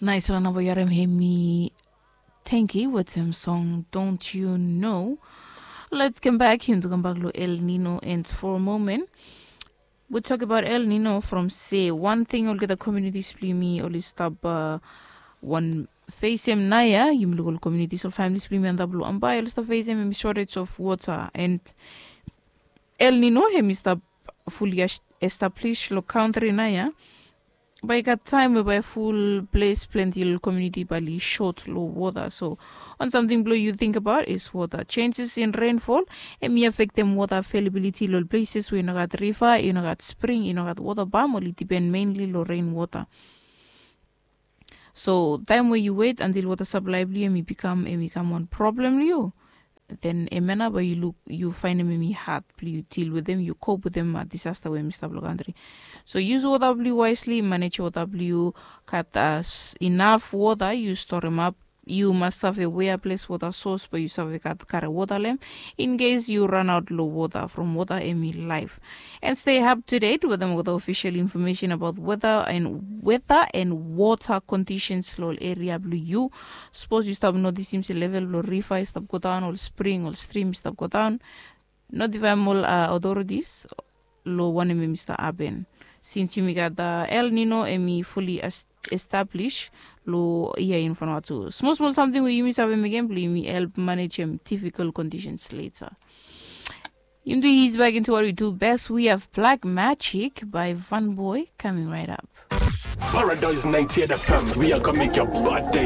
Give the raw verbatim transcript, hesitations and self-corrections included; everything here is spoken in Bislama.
Naisala namba yu harim hemi Tenki wetem song Don't You Know. Let's come back him to come back lo El Nino and for a moment. We talk about El Nino from se wan ting olgeta communities blong yumi oli stap uh, wan facem naia. Yumi luk ol communities ol families blong yumi antap lo ambai oli stap facem hemi shortage of water and El Nino hemi stap fully establish lo country naia. Bae i gat taem we bae ful ples plenti ol komuniti bae oli sot long wota. So wan samting blong yu tingbaot is wota, senses in renfol. Em i afektem wota avelabiliti long ol pleses we i no gat riva, i no gat spring, i no gat wota bam, oli dipen menli long ren wota. So taem we yu wet antil wota saplae blong yu em i bikam em i kam wan problem long yu, den em ya nao bae yu luk yu faenem em i had blong yu dil wetem, yu kop wetem disasta we em i stap long kantri. So yus wota blong yu waesli, manej wota blong yu, gat inaf wota yu storemap. Yu mas save wea ples wota sos bae yu save gat kare wota long em, in kes yu ranaot long wota from wota em i laef. And stay up to date wetem olgeta ofisel infomesen abaot weta and weta and wota kondisens long ol eria blong yu. Sapos yu stap notisim se level blong riva i stap godaon, ol spring, ol strim i stap godaon, notivaem ol otoritis long wanem em i stap hapen. Sins yumi gat El Nino em i fuli establis long yia in Vanuatu, smol smol samting we yumi save mekem blong yumi help manejem difikol kondisens leta. Yumi do is back into what we do best. We have Black Magic by Van Boy coming right up. Paradise ninety-eight F M, we are gonna make your bad day.